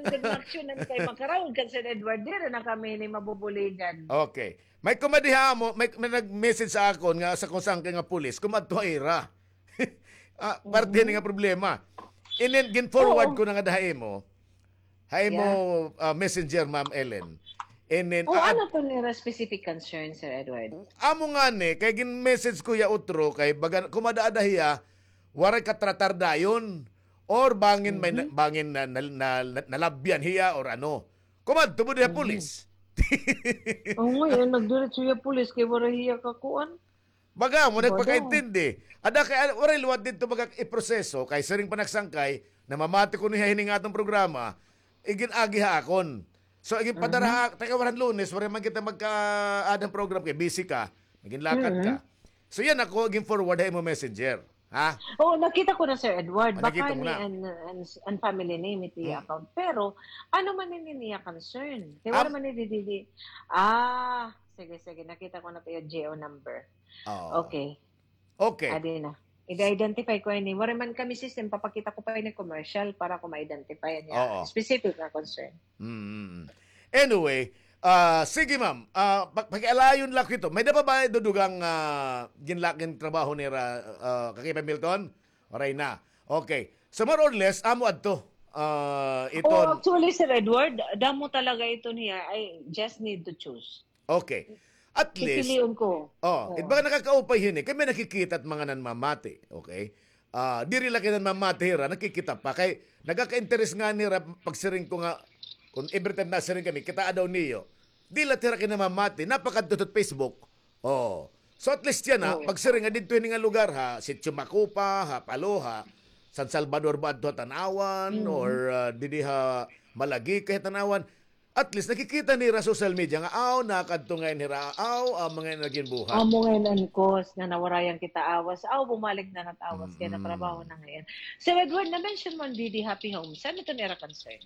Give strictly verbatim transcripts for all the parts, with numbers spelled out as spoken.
Good luck siya nan kay makarawod kan Sir Edward. Diri na kami ni mabubuligan. Okay. May kumadiha mo, may, may nag-message sa akon nga sa kusang kay nga pulis, kumadto ha ira. Ah, parte ni nga problema. And then, gin-forward ko na nga daha imo. Ha imo, ah, messenger, Ma'am Ellen. And then, Oo, ah, ano to nira specific concern, Sir Edward? Amo nga ni, kay gin-message ko ya utro, kay baga, kumada-ada hiya, waray katratar dayon, or bangin may na-, bangin na, na, na, na, nalabyan hiya, or ano. Kumadto mo diha pulis. Oo, ngayon, nagdiretso hiya pulis, kay waray hiya kakuan. Baga mo, nagpakaintindi. Ada kay, ah, waray liwat didto baga iproseso, kay siring pa nagsangkay, namamati kuno hiya hini nga aton programa, igin-agi ha akon. So, igin padara ha, taga waran Lunes, waray man kita magka-add han program kay busy ka, nagin lakad ka. So, yan ako, igin forward ha imo messenger. Ha? Oo, nakita ko na, Sir Edward. Ah, nakita mo na. Baka ni an, an, an family name iti account. Pero, ano man ini niya concern? Kay wala man ni didi. Ah, sige, sige. Nakita ko na to yung G O number. Oo. Okay. Okay. Adi na. I-identify ko ini. Wala man kami system, papakita ko pa ini commercial para ko ma-identify niya. Oo. Specific na concern. Mm. Anyway, ah, sige, ma'am. Ah, pa-, pakialayon la kito. May-ada pa ba dudugang, ah, ginlak-, gintrabaho nira, ah, Kakipay Milton? Waray na. Okay. So, more or less, amo adto. Ah, iton. Oh, actually, Sir Edward, damo talaga ito niya. I just need to choose. Okay. At least, pipilion ko. Oh, it baga nakakaupay hini. Kay may nakikita it mga nanmamati. Okay? Ah, diri la kay nanmamati hira, nakikita pa. Kay nagaka-interes ngani hira pagsiring ko nga, kun every time nasiring kami, kitaa daw niyo. Di la hira kay nanmamati, napakadto hit Facebook. Oh. So at least yana, pagsiring nga didto hini nga lugar ha, Sitio Macupa, ha Palo, ha San Salvador ba adto ha Tanauan, or, ah, didi ha Malagueca ha Tanauan. At least, nakikita nira social media nga, aw, nakadto ngay-an hira, aw, amo ngay-an nagin buhat. Amo ngay-an an cause nga nawarayan kita awas, aw, bumalik na nat awas, kay natrabaho na ngay-an. Sir Edward, na-mention mo an didi Happy Homes. Ano ito nira concern?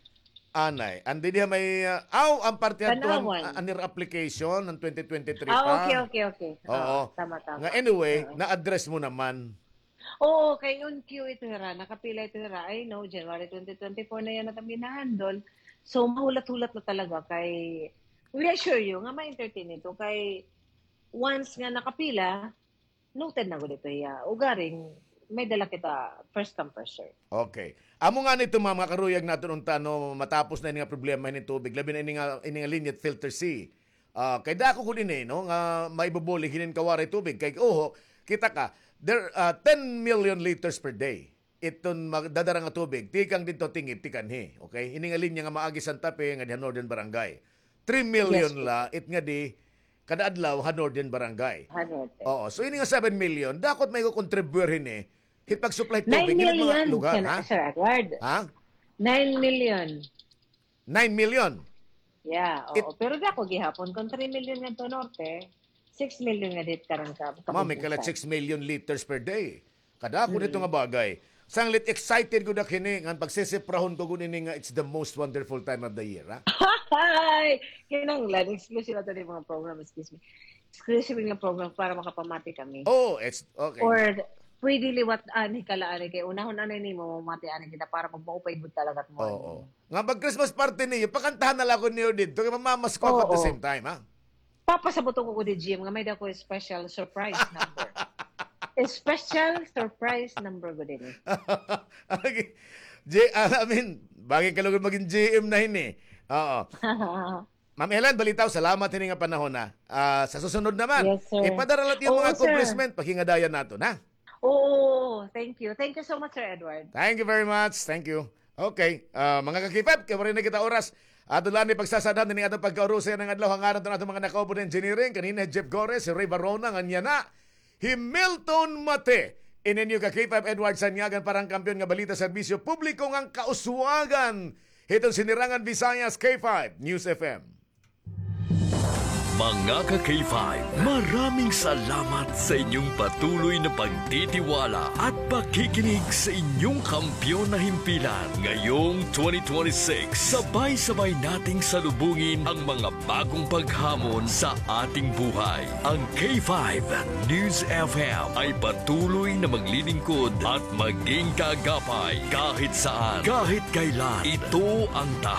Anay, an didi ha may, ah, aw, an parte adto an, an nira application, an twenty twenty-three pa. Ah, okay, okay, okay. Oo. Tama, tama. Nga anyway, na-address mo naman. Oo, kay on cue ito hira, nakapila ito hira. I know, January twenty twenty-four na yana it amon gina-handle. So, mahulat-hulat la talaga kay, we assure you nga ma-entertain ito kay once nga nakapila, noted na gud ito hiya. Ugaring, may-ada la kita first come, first serve. Okay. Amo ngani ito, ma'am, nga karuyag naton unta, no, matapos na ini nga problema hini tubig, labi na ini nga, ini nga linya it Filter C. Ah, kay dako gud ini, no, nga maibubulig hinin kawaray tubig. Kay, oho, kita ka, there, ah, ten million liters per day iton magdadara nga tubig tikang didto Tingib, tikanhi. Okay? Ini nga linya nga maagi Santa Fe, ngadi ha Northern Barangay. Three million la it ngadi kada adlaw ha Northern Barangay. Oo. So, ini nga seven million, dako it maikokontribuyar hini hit pag-supply tubig hini mga lugar, ha? Sir Edward. Ha? Nine million. Nine million. Yeah, oo. Pero dako gihapon. Kon three million ngadto norte, six million nga didto karang ka-, Ma'am, may kalat six million liters per day. Kadako nito nga bagay. Sanglit excited gud ak hini, ngan pagsisiprahon ko gud ini nga it's the most wonderful time of the year, ha? Hay! Kinahanglan, exclusive ato ni mga program, excuse me. Exclusive nga program para makapamati kami. Oh, it's okay. Or pwede liwat ani, kala ani, kay unahon ani nimo, mamati ani kita para magmaupay gud talaga it morning. Oo. Nga mag-Christmas party niyo, pakantahan na la ako niyo didto, kay mamamasko ako at the same time, ha? Papasaboton ko gud hi G M nga may-ada ko special surprise number. Special surprise number gud ini. Okay. G-, ah, I mean, bagay ka lugod magin G M na hini. Oo. Ma'am Ellen, balitaw, salamat hini nga panahon, ha. Ah, sa susunod naman, ipadara la it iyo mga accomplishment, paghingadayan naton, ha? Oo, thank you. Thank you so much, Sir Edward. Thank you very much. Thank you. Okay, ah, mga ka-K five, kay waray na kita oras. Aton la ini pagsasadhan hini nga aton pagkaurusay han adlaw, ha ngaran han aton mga nakaupo han engineering, kanina hi Jeff Gores, hi Ray Barona, ngan yana hi Milton Mate. Ini an iyo ka-K five Edward Sanyagan para han Kampiyon nga Balita, Serbisyo Publiko ngan Kauswagan hiton Sinirangan Visayas, K five News F M. Mga ka-K five, maraming salamat sa inyong patuloy na pagtitiwala at pakikinig sa inyong kampiyon na himpilan. Ngayong twenty twenty-six, sabay-sabay nating salubungin ang mga bagong paghamon sa ating buhay. Ang K five News F M ay patuloy na maglilingkod at maging kaagapay kahit saan, kahit kailan. Ito ang tahanan